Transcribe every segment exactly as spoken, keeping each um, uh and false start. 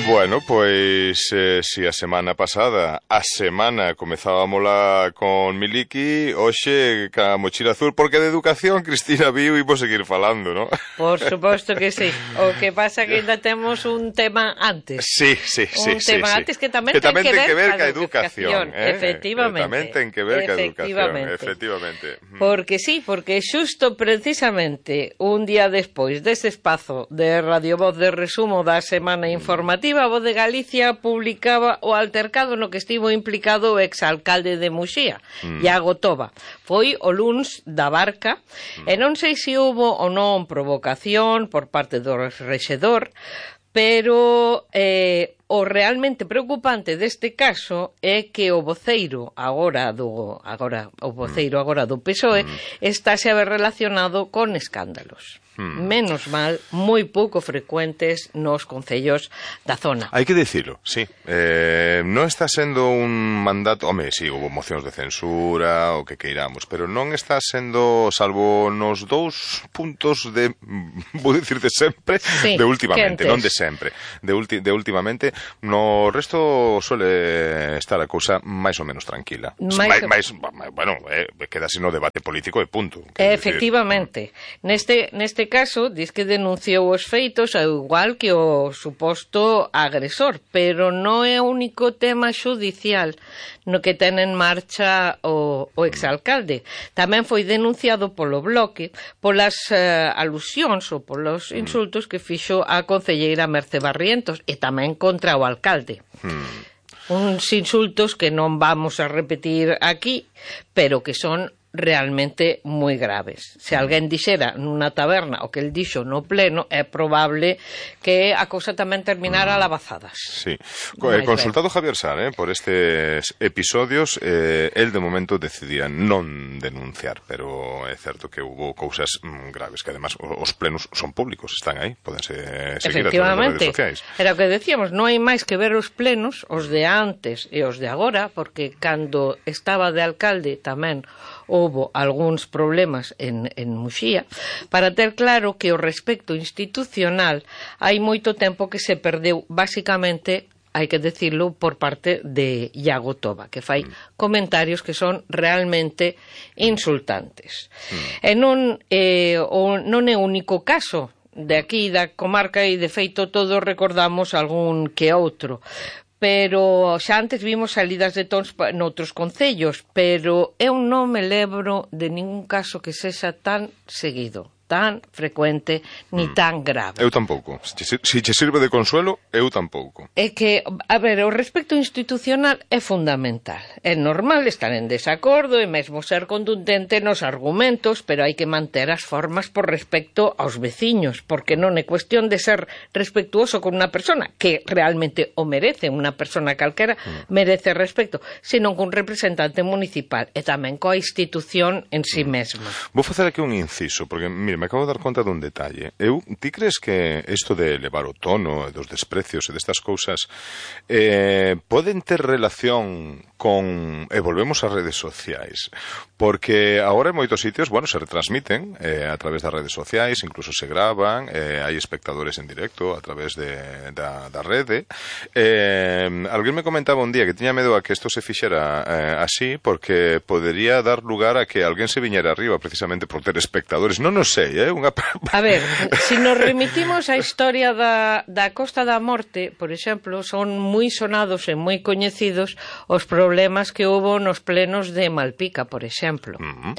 Bueno, pois eh, si a semana pasada a semana comezábamola con Miliki, hoxe ca mochila azul, porque de educación Cristina viu e vou seguir falando, ¿no? Por suposto que sí. O que pasa que ainda temos un tema antes. Sí, sí, sí. Un tema sí, antes sí. que tamén que ten tamén que ten ver que ver ca ca educación, educación, eh? efectivamente. Tamén ten que ver ca educación, Efectivamente. efectivamente. Porque sí, porque xusto precisamente un día despois dese espazo de Radio Voz de resumo da semana informativa, a Voz de Galicia publicaba o altercado no que estivo implicado o exalcalde de Muxía, mm. Iago Toba. Foi o luns da Barca, mm. e non sei se houbo ou non provocación por parte do rexedor, pero eh, o realmente preocupante deste caso é que o voceiro agora do agora o voceiro agora do P S O E mm. estáse a ver relacionado con escándalos. Hmm. Menos mal, moi pouco frecuentes nos concellos da zona. Hai que dicilo, sí. Eh, non está sendo un mandato... Home, sí, houve mocións de censura, o que queiramos, pero non está sendo, salvo nos dous puntos de... vou dicir de sempre, sí, de últimamente, quentes. non de sempre. De, ulti, de últimamente, no resto suele estar a cousa máis ou menos tranquila. Mais... máis, máis, bueno, eh, queda así no debate político e punto. Efectivamente. Neste, neste caso, diz que denunciou os feitos ao igual que o suposto agresor, pero non é o único tema xudicial no que ten en marcha o, o exalcalde. Tamén foi denunciado polo Bloque polas uh, alusións ou polos insultos que fixo a concelleira Merce Barrientos e tamén contra o alcalde. Hmm. Uns insultos que non vamos a repetir aquí, pero que son realmente moi graves. Se alguén dixera nunha taberna o que el dixo no pleno, é probable que a cousa tamén terminara a lavazadas. Sí. Eh, consultado Javier Sar, eh, por estes episodios, eh, el de momento decidía non denunciar, pero é certo que hubo cousas mm, graves, que además os plenos son públicos, están aí, podense seguir a través das redes sociais. Era o que decíamos, non hai máis que ver os plenos, os de antes e os de agora, porque cando estaba de alcalde tamén houbo algúns problemas en, en Muxía, para ter claro que o respecto institucional hai moito tempo que se perdeu, basicamente, hai que decirlo, por parte de Iago Toba, que fai mm. comentarios que son realmente insultantes. Mm. E non, eh, o, non é o único caso de aquí, da comarca, e de feito todos recordamos algún que outro. Pero xa antes vimos salidas de tons noutros concellos, pero eu non me lembro de ningún caso que sexa tan seguido, tan frecuente, ni mm. tan grave. Eu tampouco. Se che sirve de consuelo, eu tampouco. É que, a ver, o respecto institucional é fundamental. É normal estar en desacordo e mesmo ser contundente nos argumentos, pero hai que manter as formas por respecto aos veciños, porque non é cuestión de ser respectuoso con unha persona, que realmente o merece, unha persona calquera mm. merece respecto, senón cun representante municipal e tamén coa institución en si sí mesma. Vou facer aquí un inciso, porque, mire, me acabo de dar conta dun detalle. Eu, ti crees que isto de elevar o tono, dos desprecios e destas cousas eh, poden ter relación con... E volvemos ás redes sociais, porque agora en moitos sitios, bueno, se retransmiten eh, a través das redes sociais, incluso se graban, eh, hai espectadores en directo a través de, da, da rede. Eh, alguén me comentaba un día que tiña medo a que isto se fixera eh, así, porque podería dar lugar a que alguén se viñera arriba precisamente por ter espectadores. Non o sei, eh? Unha... A ver, se si nos remitimos á historia da, da Costa da Morte, por exemplo, son moi sonados e moi coñecidos os problemas que houbo nos plenos de Malpica, por exemplo. Uh-huh.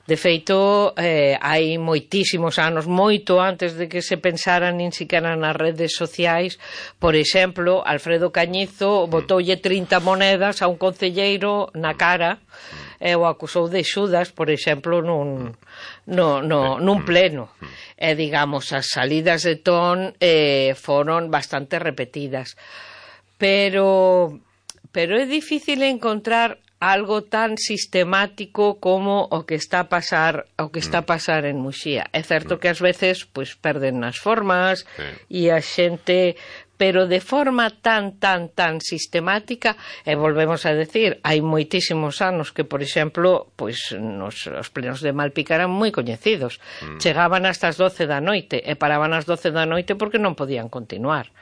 De feito, eh, hai moitísimos anos, moito antes de que se pensara nin siquiera nas redes sociais, por exemplo, Alfredo Cañizo botoulle trinta monedas a un concelleiro na cara e o acusou de xudas, por exemplo, nun, no, no, nun pleno. E, digamos, as salidas de ton eh, foron bastante repetidas. Pero, pero é difícil encontrar algo tan sistemático como o que está a pasar o que está a pasar en Muxía. É certo que ás veces pois perden as formas sí. e a xente pero de forma tan, tan, tan sistemática, e volvemos a decir, hai moitísimos anos que, por exemplo, pois nos, os plenos de Malpica eran moi coñecidos. Mm. Chegaban hasta as doce da noite e paraban as doce da noite porque non podían continuar.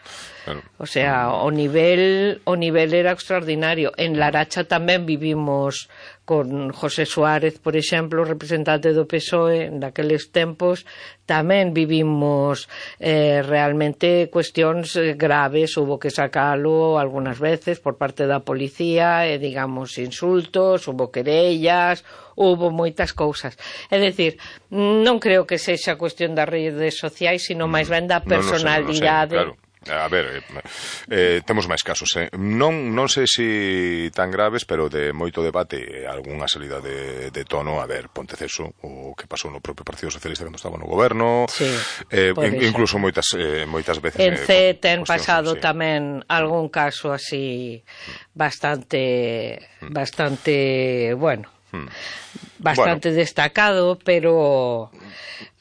Claro. O sea, o nivel o nivel era extraordinario. En Laracha tamén vivimos con José Suárez, por exemplo, representante do P S O E, naqueles tempos tamén vivimos eh, realmente cuestións graves, hubo que sacalo algunhas veces por parte da policía, e digamos insultos, hubo querellas, hubo moitas cousas. É dicir, non creo que sexa cuestión das redes sociais, sino máis ben da personalidade. Non, non sei, non sei, claro. A ver, eh, temos máis casos, eh? non, non sei se tan graves, pero de moito debate, algunha salida de, de tono. A ver, Ponteceso, o que pasou no propio Partido Socialista cando estaba no goberno, sí, eh, in, incluso moitas, eh, moitas veces en C eh, ten pasado sí. tamén algún caso así bastante bastante, bueno, bastante bueno. destacado, pero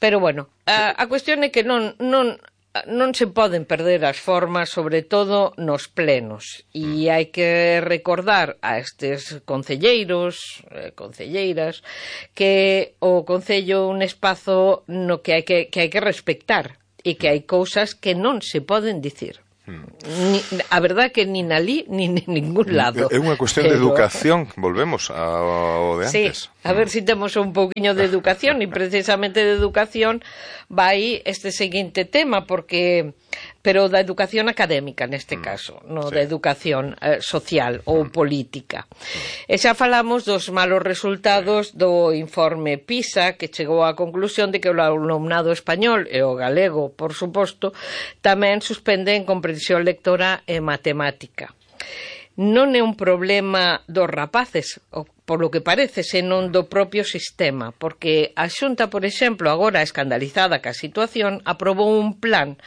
pero bueno, a, a cuestión é que non non non se poden perder as formas, sobre todo nos plenos, e hai que recordar a estes concelleiros, eh, concelleiras, que o concello é un espazo no que hai que, que hai que respectar, e que hai cousas que non se poden dicir. Ni, a verdad que nin ali ni en ningún lado. É unha cuestión pero... de educación, volvemos ao de antes. Sí, a ver se si temos un pouquiño de educación, e precisamente de educación vai este seguinte tema, porque pero da educación académica neste caso, non sí. da educación eh, social ou política. E xa falamos dos malos resultados do informe PISA, que chegou á conclusión de que o alumnado español e o galego, por suposto, tamén suspenden comprensión lectora e matemática. Non é un problema dos rapaces, por lo que parece, senón do propio sistema, porque a Xunta, por exemplo, agora escandalizada ca situación, aprobou un plan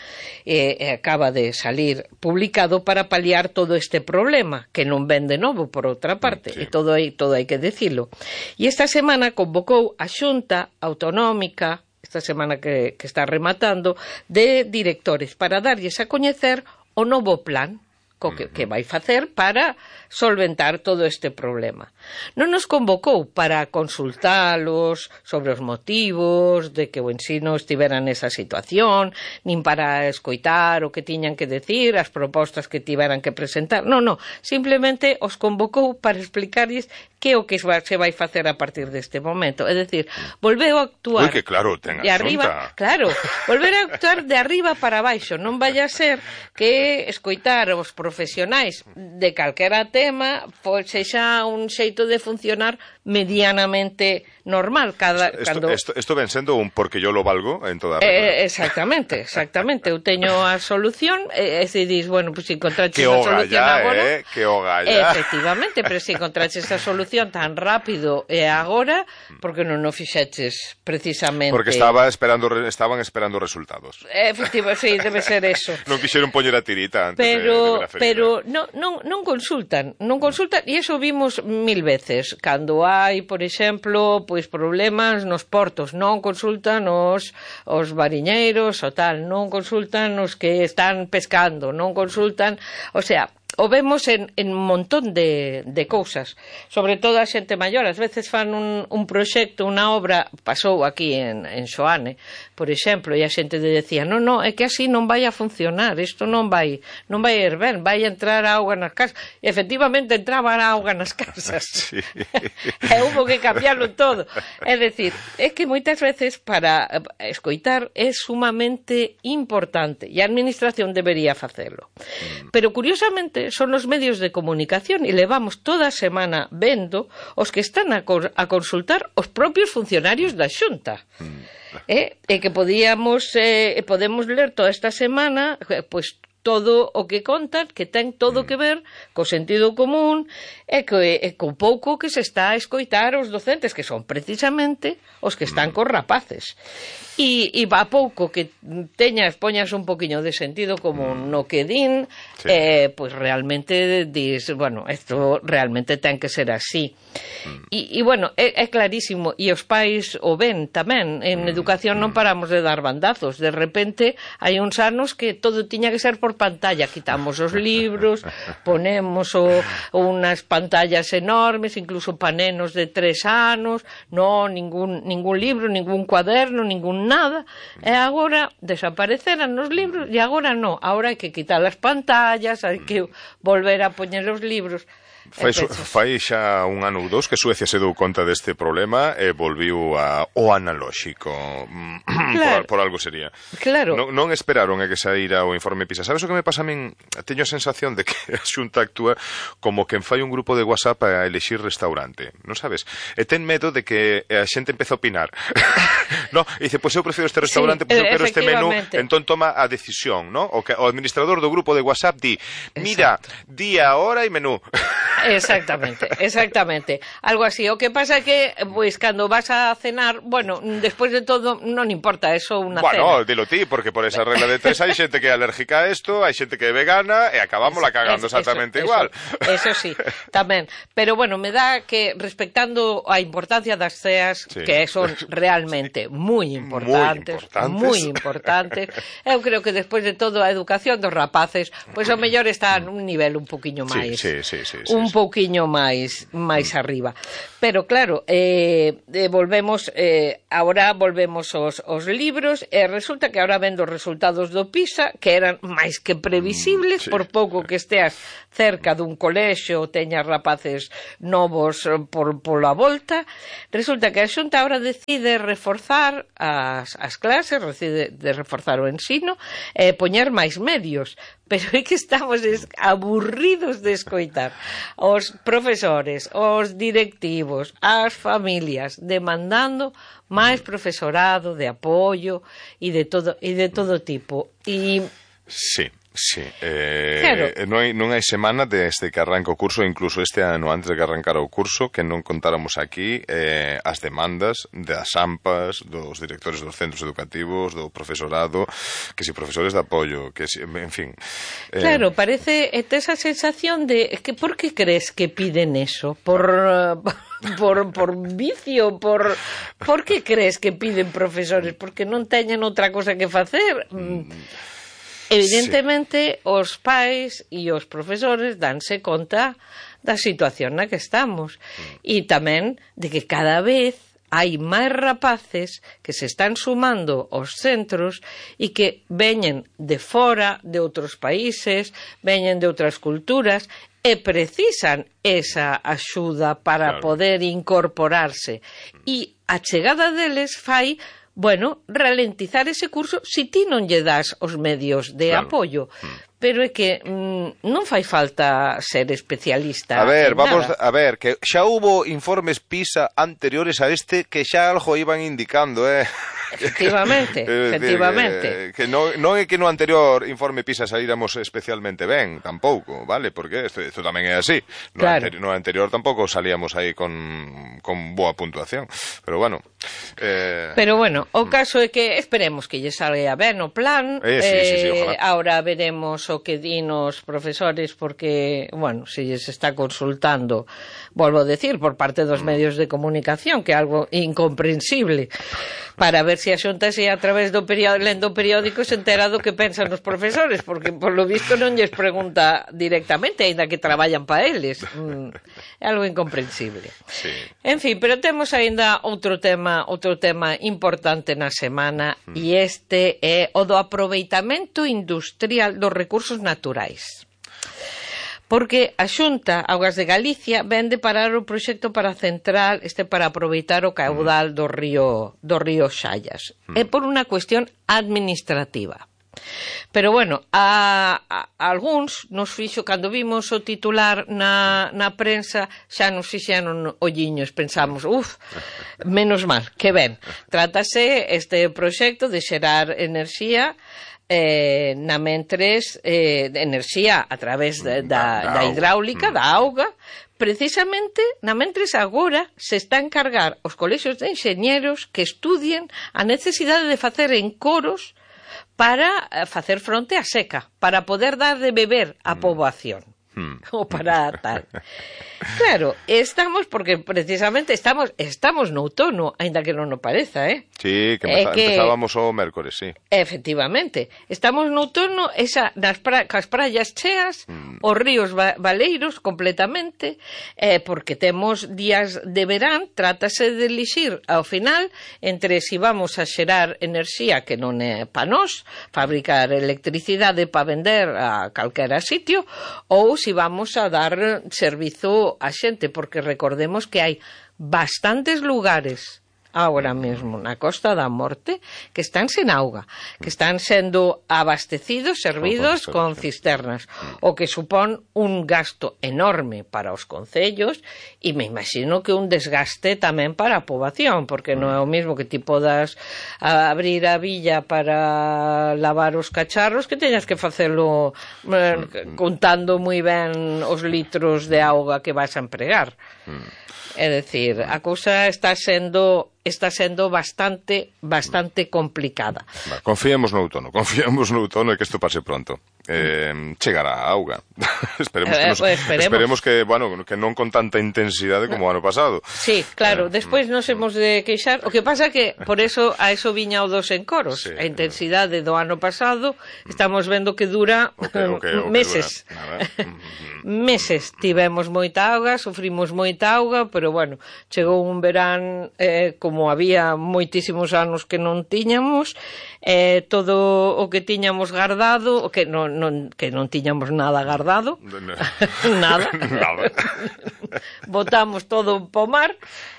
e eh, acaba de salir publicado para paliar todo este problema, que non ven de novo, por outra parte, sí. e todo hai, todo hai que dicilo. E esta semana convocou a Xunta Autonómica, esta semana que, que está rematando, de directores para darlles a coñecer o novo plan co que, que vai facer para solventar todo este problema. Non nos convocou para consultalos sobre os motivos de que o ensino estivera nesa situación, nin para escoitar o que tiñan que decir, as propostas que tiveran que presentar. Non, non, simplemente os convocou para explicarlles que o que se vai facer a partir deste momento. É dicir, volveu a actuar... Ui, que claro, ten de arriba, claro, volver a actuar de arriba para baixo. Non vai a ser que escoitar os profesionais de calquera tema pois sexa un xeito de funcionar medianamente normal cada esto, cando esto, esto ven sendo un porque yo lo valgo en toda a eh, exactamente, exactamente. Eu teño a solución e eh, se dis, bueno, pois pues, si encontraches a solución ya, agora, eh, que hoga ya. Efectivamente, pero se si encontraches a solución tan rápido e agora, porque non o fixeches precisamente porque estaba esperando estaban esperando resultados. Efectivamente, sí, debe ser eso. Non quixeron poñer a tirita antes pero, de, de ver a pero non, non, non consultan, non consultan, e iso vimos mil veces cando hai, por exemplo, pois problemas nos portos, non consultan os, os mariñeiros ou tal, non consultan os que están pescando, non consultan, o sea, o vemos en, en un montón de, de cousas, sobre todo a xente maior. Ás veces fan un, un proxecto, unha obra, pasou aquí en, en Xoane, por exemplo, e a xente decía, non, non, é que así non vai a funcionar, isto non vai non vai ir ben, vai entrar auga nas casas. E efectivamente entraba a auga nas casas. Sí. E hubo que cambiarlo todo. É dicir, é que moitas veces para escoitar é sumamente importante e a administración debería facelo. Pero curiosamente son os medios de comunicación e levamos toda a semana vendo os que están a, co a consultar os propios funcionarios da Xunta. Eh, e que podíamos eh, podemos ler toda esta semana eh, pois todo o que contan, que ten todo que ver co sentido común e co, e co pouco que se está a escoitar os docentes, que son precisamente os que están cos rapaces. E, e a pouco que teñas, poñas un poquinho de sentido común no que din, sí. eh, pois realmente dis, bueno, isto realmente ten que ser así. E, e bueno, é, é clarísimo, e os pais o ven tamén, en educación non paramos de dar bandazos, de repente hai uns anos que todo tiña que ser por pantalla, quitamos os libros, ponemos o, unas pantallas enormes, incluso pa nenos de tres anos, non, ningún, ningún libro, ningún cuaderno, ningún nada, e agora desapareceran os libros, e agora non, agora hai que quitar as pantallas, hai que volver a poñer os libros. Fai, fai xa un ano ou dous que Suecia se dou conta deste problema e volviu a, o analóxico. Claro. por, por algo sería. Claro. Non, non esperaron a que saíra o informe PISA. Sabes o que me pasa a min? Teño a sensación de que a Xunta actúa como quen fai un grupo de WhatsApp a elexir restaurante, non sabes? E ten medo de que a xente empece a opinar. No, e dice, pois pues eu prefiro este restaurante, sí, pois pues eu quero este menú, entón toma a decisión, ¿no? O, que, o administrador do grupo de WhatsApp di, mira, exacto, día, hora e menú. Exactamente, exactamente. Algo así. O que pasa é que, pois, cando vas a cenar, bueno, despois de todo, non importa, eso unha bueno, cena. Bueno, dilo ti, porque por esa regla de tres hai xente que é alérgica a isto, hai xente que é vegana, e acabamos la cagando es, exactamente eso, igual. Eso, eso sí, tamén. Pero, bueno, me dá que, respectando a importancia das ceas, sí, que son realmente sí, moi importantes, moi importantes, eu creo que, despois de todo, a educación dos rapaces, pois, ao mellor está nun nivel un poquinho máis... Sí, sí, sí, sí, un pouquiño máis máis arriba. Pero claro, eh, eh, volvemos eh, agora volvemos aos, aos libros e resulta que agora vendo os resultados do PISA, que eran máis que previsibles, mm, sí, por pouco que esteas cerca dun colexio ou teñas rapaces novos por pola volta, resulta que a Xunta agora decide reforzar as, as clases, decide de reforzar o ensino e poñer máis medios. Pero é que estamos aburridos de escoitar os profesores, os directivos, as familias demandando máis profesorado de apoio e de todo e de todo tipo. E sí. Sí, eh, claro. non, hai, non hai semana desde que arranca o curso, incluso este ano antes de que arrancara o curso, que non contáramos aquí eh, as demandas das AMPAs, dos directores dos centros educativos, do profesorado, que si profesores de apoio, que si, en fin. Eh... Claro, parece esa sensación de que por que crees que piden eso? Por... por, por vicio, por por que crees que piden profesores? Porque non teñen outra cosa que facer. Mm. Evidentemente, sí, os pais e os profesores danse conta da situación na que estamos e tamén de que cada vez hai máis rapaces que se están sumando aos centros e que veñen de fora, de outros países, veñen de outras culturas e precisan esa axuda para, claro, poder incorporarse. E a chegada deles fai, bueno, ralentizar ese curso si ti non lle das os medios de, claro, apoio. Pero é que mm, non fai falta ser especialista. A ver, vamos nada. a ver, que xa hubo informes PISA anteriores a este que xa algo iban indicando, eh? Efectivamente, efectivamente. Que, que non, non é que no anterior informe PISA saíramos especialmente ben, tampouco, vale? Porque isto, isto tamén é así. No, claro, anteri no anterior tampouco salíamos aí con, con boa puntuación. Pero bueno... Eh... Pero bueno, o caso é que esperemos que lle salga ben o plan. Eh, sí, sí, sí, ojalá. Ahora veremos o que din os profesores, porque, bueno, se lles está consultando, volvo a decir, por parte dos medios de comunicación, que é algo incomprensible, para ver se a Xunta se a través do periódico, lendo o periódico se entera do que pensan os profesores, porque por lo visto non lles pregunta directamente, aínda que traballan para eles. Mm, é algo incomprensible. Sí. En fin, pero temos aínda outro tema, outro tema importante na semana, mm. e este é o do aproveitamento industrial dos recursos naturais. Porque a Xunta Augas de Galicia vende parar o proxecto para a central, este para aproveitar o caudal do río do río Xallas. Mm. É por unha cuestión administrativa. Pero bueno, a, a, a algúns nos fixo, cando vimos o titular na, na prensa, xa nos fixeron olliños, pensamos, uf, menos mal, que ben. Trátase este proxecto de xerar enerxía Eh, na mentres eh, de enerxía a través de, da, da hidráulica, da auga, precisamente na mentres agora se está a encargar os colexios de enxeñeros que estudien a necesidade de facer encoros para facer fronte á seca, para poder dar de beber á poboación. Hmm. ou para tal. Claro, estamos, porque precisamente estamos estamos no outono, aínda que non o pareza, eh? Sí, que, empeza, que empezábamos o mércores, sí. Efectivamente, estamos no outono, esa, nas pra, cas praias cheas, mm. os ríos va, valeiros completamente, eh, porque temos días de verán, trátase de elixir ao final entre si vamos a xerar enerxía que non é pa nós, fabricar electricidade para vender a calquera sitio, ou si vamos a dar servizo a xente, porque recordemos que hai bastantes lugares agora mesmo na Costa da Morte que están sen auga, que están sendo abastecidos, servidos con cisternas, o que supón un gasto enorme para os concellos e me imagino que un desgaste tamén para a poboación, porque non é o mismo que ti podas abrir a villa para lavar os cacharros que teñas que facelo eh, contando moi ben os litros de auga que vas a empregar. É dicir, a cousa está sendo está sendo bastante bastante complicada. Va, confiemos no outono, confiemos no outono e que isto pase pronto. Eh, chegará a auga. esperemos, que nos, eh, pues esperemos. esperemos que, bueno, que non con tanta intensidade como o ano pasado. Sí, claro, eh, despois nos hemos de queixar. O que pasa que por eso a eso viña o dos encoros. Sí, a intensidade do ano pasado estamos vendo que dura okay, okay, okay, meses. Dura. meses tivemos moita auga, sufrimos moita auga, pero bueno, chegou un verán eh, como había moitísimos anos que non tiñamos, eh, todo o que tiñamos guardado, o que non, non, que non tiñamos nada guardado, nada, nada. botamos todo po mar,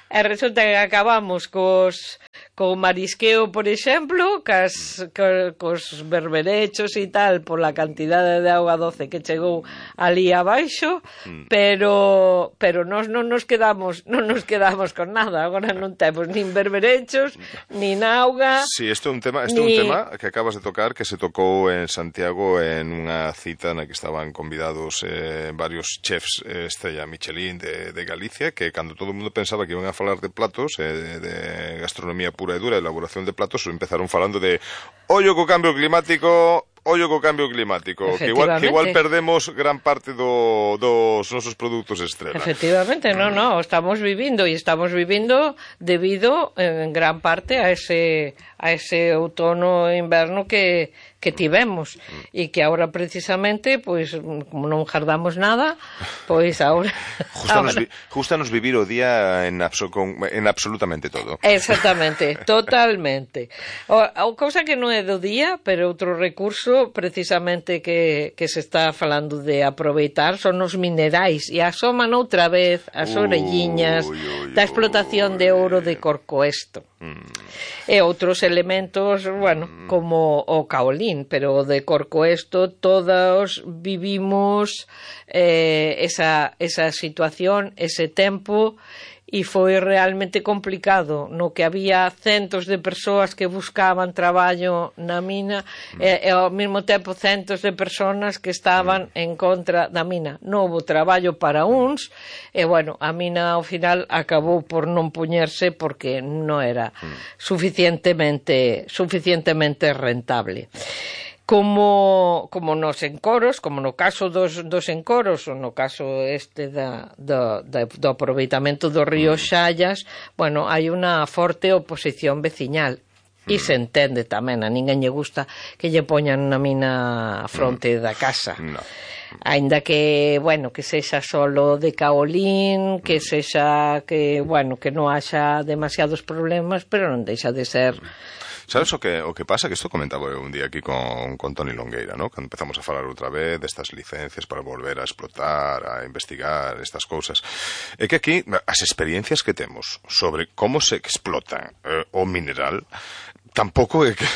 e resulta que acabamos cos, co marisqueo, por exemplo, cas, co, cos berberechos e tal, por la cantidade de auga doce que chegou ali abaixo, mm. pero pero nós non nos quedamos non nos quedamos con nada, agora non temos nin berberechos, nin auga. Sí, isto é un tema, isto ni... é un tema que acabas de tocar, que se tocou en Santiago en unha cita na que estaban convidados eh, varios chefs eh, estrella Michelin de, de Galicia, que cando todo o mundo pensaba que iban a falar de platos, eh, de gastronomía pura e dura, elaboración de platos, empezaron falando de ollo co cambio climático, ollo co cambio climático, que igual, que igual perdemos gran parte do, dos nosos produtos estrela. Efectivamente, no, no, estamos vivindo e estamos vivindo debido en gran parte a ese a ese outono e inverno que, que tivemos e que agora precisamente, pois, como non jardamos nada, pois agora... Justanos, vi, justanos vivir o día en, abso, con, en absolutamente todo. Exactamente, totalmente. O, o cousa que non é do día, pero outro recurso precisamente que, que se está falando de aproveitar son os minerais e asoman outra vez as orelliñas uy, uy, da explotación de ouro de Corcoesto. Mm. E outros elementos, bueno, como o caolín, pero de Corcoesto todos vivimos eh, esa, esa situación, ese tempo, e foi realmente complicado, no que había centos de persoas que buscaban traballo na mina mm. e, e ao mesmo tempo centos de persoas que estaban mm. en contra da mina. Non houve traballo para uns e, bueno, a mina ao final acabou por non poñerse porque non era mm. suficientemente suficientemente rentable. Como, como nos encoros, como no caso dos, dos encoros, ou no caso este da, da, da, do aproveitamento do río Xallas, bueno, hai unha forte oposición veciñal. E se entende tamén, a ninguén lle gusta que lle poñan na mina a fronte da casa. No. Ainda que, bueno, que sexa solo de caolín, que sexa que, bueno, que non haxa demasiados problemas, pero non deixa de ser... Sabes o que o que pasa? Que isto comentaba un día aquí con, con Toni Longueira, ¿no? Cando empezamos a falar outra vez destas licencias para volver a explotar, a investigar estas cousas. É que aquí as experiencias que temos sobre como se explota eh, o mineral tampouco é que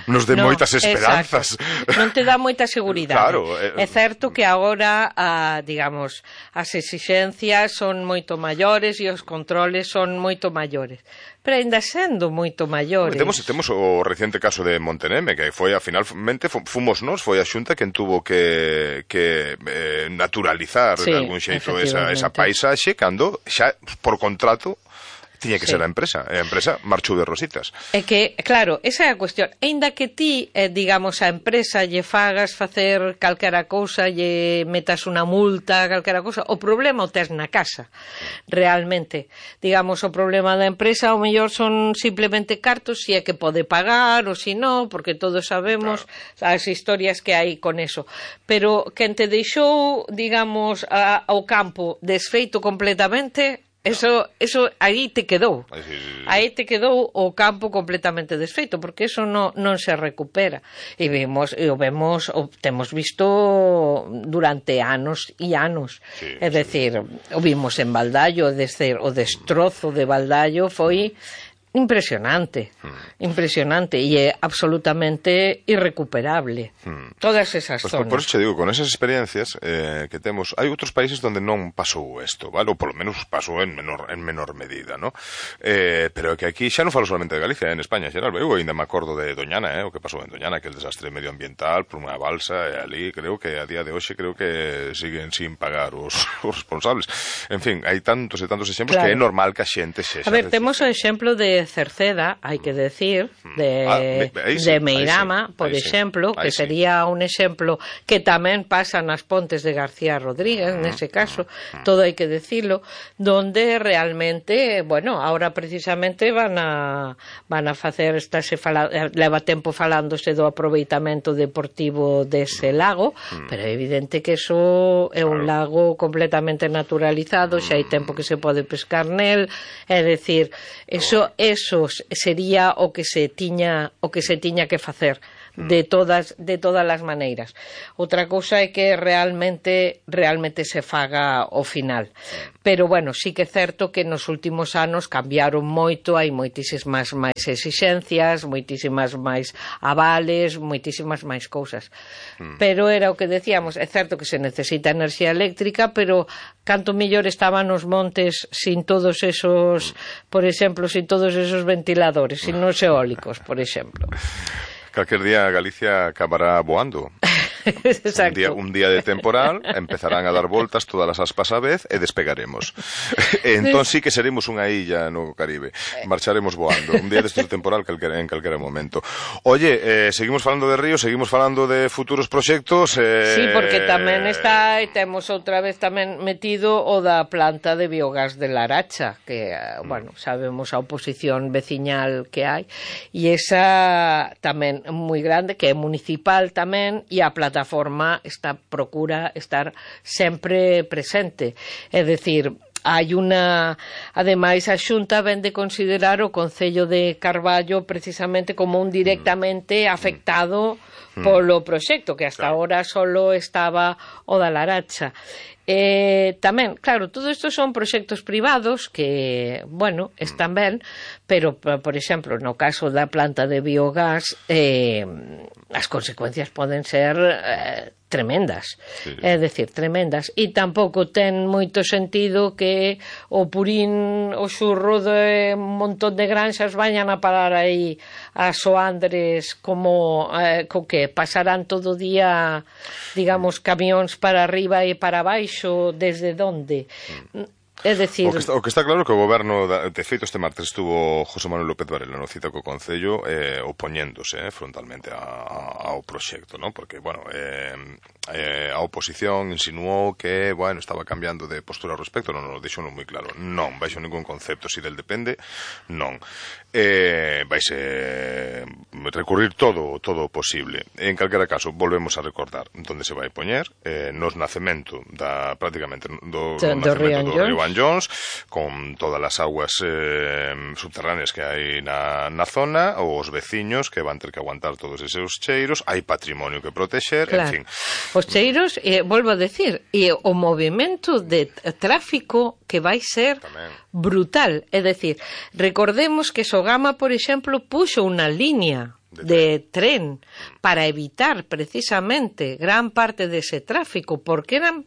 nos dé no, moitas esperanzas. Exacto. Non te dá moita seguridade. Claro, eh, é certo que agora, a, digamos, as exixencias son moito maiores e os controles son moito maiores. Pero ainda sendo moito maiores. Temos, temos o reciente caso de Monteneme, que foi, a finalmente, fomos nós, foi a Xunta quen tuvo que, que eh, naturalizar sí, de algún xeito esa, esa paisaxe, cando xa, por contrato, Tiña que sí. ser a empresa, e a empresa marchou de rositas. É que, claro, esa é a cuestión. Ainda que ti, eh, digamos, a empresa lle fagas facer calquera cousa, lle metas unha multa, calquera cousa, o problema o tes na casa, realmente. Digamos, o problema da empresa ao mellor son simplemente cartos, si é que pode pagar ou si non, porque todos sabemos claro. as historias que hai con eso. Pero quen te deixou, digamos, a, ao campo desfeito completamente... Eso, eso aí te quedou. Aí te quedou o campo completamente desfeito, porque eso no, non se recupera. E vemos, e o vemos, o temos visto durante anos e anos. Sí, é dicir, sí. o vimos en Baldallo, é dicir, o destrozo de Baldallo foi impresionante, hmm. impresionante e é absolutamente irrecuperable. Hmm. Todas esas pues zonas. Por, por eso te digo, con esas experiencias eh, que temos, hai outros países donde non pasou isto, vale? Ou polo menos pasou en menor, en menor medida, ¿no? Eh, pero que aquí xa non falo solamente de Galicia, eh, en España en xeral, eu ainda me acordo de Doñana, eh, o que pasou en Doñana, que el desastre medioambiental por unha balsa, e ali creo que a día de hoxe creo que siguen sin pagar os, os responsables. En fin, hai tantos e tantos exemplos claro. que é normal que a xente sexa. A ver, temos o exemplo de Cerceda, hai que decir, de, ah, me, sí, de Meirama, sí, por exemplo, sí, que sería sí. un exemplo que tamén pasa nas Pontes de García Rodríguez, mm, nese caso, mm, todo hai que decirlo, donde realmente, bueno, ahora precisamente van a van a facer, estáse fala, leva tempo falándose do aproveitamento deportivo dese lago, mm, pero é evidente que eso é un claro. lago completamente naturalizado, xa hai tempo que se pode pescar nel, é decir, eso é eso sería o que se tiña o que se tiña que facer de todas de todas as maneiras. Outra cousa é que realmente realmente se faga o final. Pero bueno, sí que é certo que nos últimos anos cambiaron moito, hai moitísimas máis exixencias, moitísimas máis avales, moitísimas máis cousas. Pero era o que decíamos, é certo que se necesita enerxía eléctrica, pero canto mellor estaban os montes sin todos esos, por exemplo, sin todos esos ventiladores, sin os eólicos, por exemplo. Calquer día Galicia acabará voando. Un día, un día de temporal, empezarán a dar voltas todas as aspas á vez e despegaremos. E entón sí que seremos unha illa no Caribe. Marcharemos voando. Un día destes de temporal en calquera momento. Oye, eh, seguimos falando de ríos, seguimos falando de futuros proxectos. Eh... Sí, porque tamén está, e temos outra vez tamén metido o da planta de biogás de Laracha, que, bueno, sabemos a oposición veciñal que hai, e esa tamén moi grande, que é municipal tamén, e a plataforma está procura estar sempre presente. É dicir, hai unha... Ademais, a Xunta ven de considerar o Concello de Carballo precisamente como un directamente afectado polo proxecto, que hasta agora solo estaba o da Laracha. Eh, tamén, claro, todo isto son proxectos privados que, bueno, están ben, pero, por exemplo, no caso da planta de biogás, eh, as consecuencias poden ser eh, tremendas, sí. É dicir, tremendas, e tampouco ten moito sentido que o purín, o xurro de un montón de granxas vayan a parar aí a Soandres como, eh, co que pasarán todo o día, digamos, camións para arriba e para baixo, desde onde? É dicir... O que, está, o que está claro que o goberno, de feito, este martes estuvo José Manuel López Varela no cita co Concello eh, opoñéndose eh, frontalmente a, a, ao proxecto, ¿no? Porque, bueno, eh, eh, a oposición insinuou que, bueno, estaba cambiando de postura ao respecto, non, non, deixou moi claro. Non, baixo ningún concepto, si del depende, non. Eh, vaise recurrir todo todo o posible. En calquera caso, volvemos a recordar onde se vai poñer, eh, nos nacemento da, prácticamente, do, do, do nacemento do Río Jones, con todas as aguas eh, subterráneas que hai na, na zona, ou os veciños que van ter que aguantar todos eses cheiros, hai patrimonio que protexer, claro. En fin. Os cheiros, eh, volvo a decir, e o movimento de tráfico que vai ser tamén brutal, é dicir, recordemos que Sogama, por exemplo, puxo unha línea de tren para evitar precisamente gran parte dese tráfico, porque eran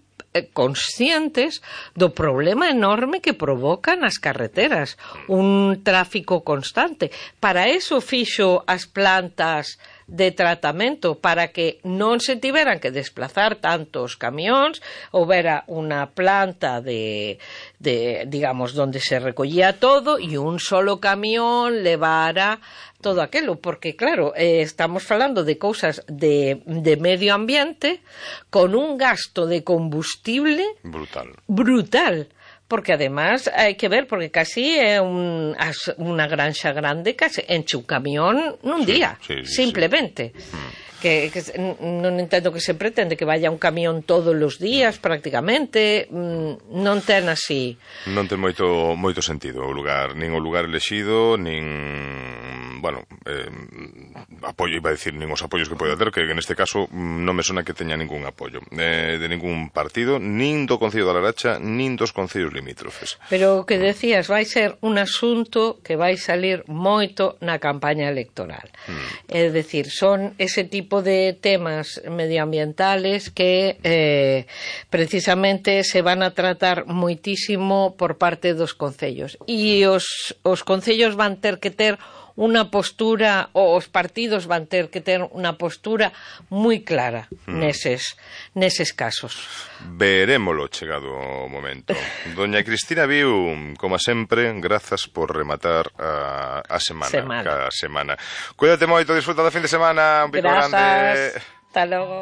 conscientes do problema enorme que provocan as carreteras, un tráfico constante. Para eso fixo as plantas de tratamento para que non se tiveran que desplazar tantos camións, houbera unha planta de, de digamos, donde se recollía todo e un solo camión levara todo aquilo, porque claro, eh, estamos falando de cousas de, de medio ambiente con un gasto de combustible brutal. brutal, porque además hai que ver, porque casi é un, unha granxa grande, casi enche un camión nun sí, día, sí, sí, simplemente. Sí. Mm. Que, que non entendo que se pretende que vaya un camión todos os días prácticamente, non ten así. Non ten moito moito sentido o lugar, nin o lugar elexido, nin, bueno, eh, apoio, iba a decir, nin os apoios que pode ter, que neste caso non me sona que teña ningún apoio eh, de ningún partido, nin do Concello da Laracha, nin dos concellos limítrofes. Pero o que decías, vai ser un asunto que vai salir moito na campaña electoral. Mm. É dicir, son ese tipo de temas medioambientales que eh, precisamente se van a tratar moitísimo por parte dos concellos, e os, os concellos van ter que ter unha postura, ou os partidos van ter que ter unha postura moi clara mm. neses, neses casos. Verémolo chegado o momento. Doña Cristina Viu, como sempre, grazas por rematar a, a semana, semana. cada semana. Cuídate moito, disfruta da fin de semana. Un pico grande. Hasta logo.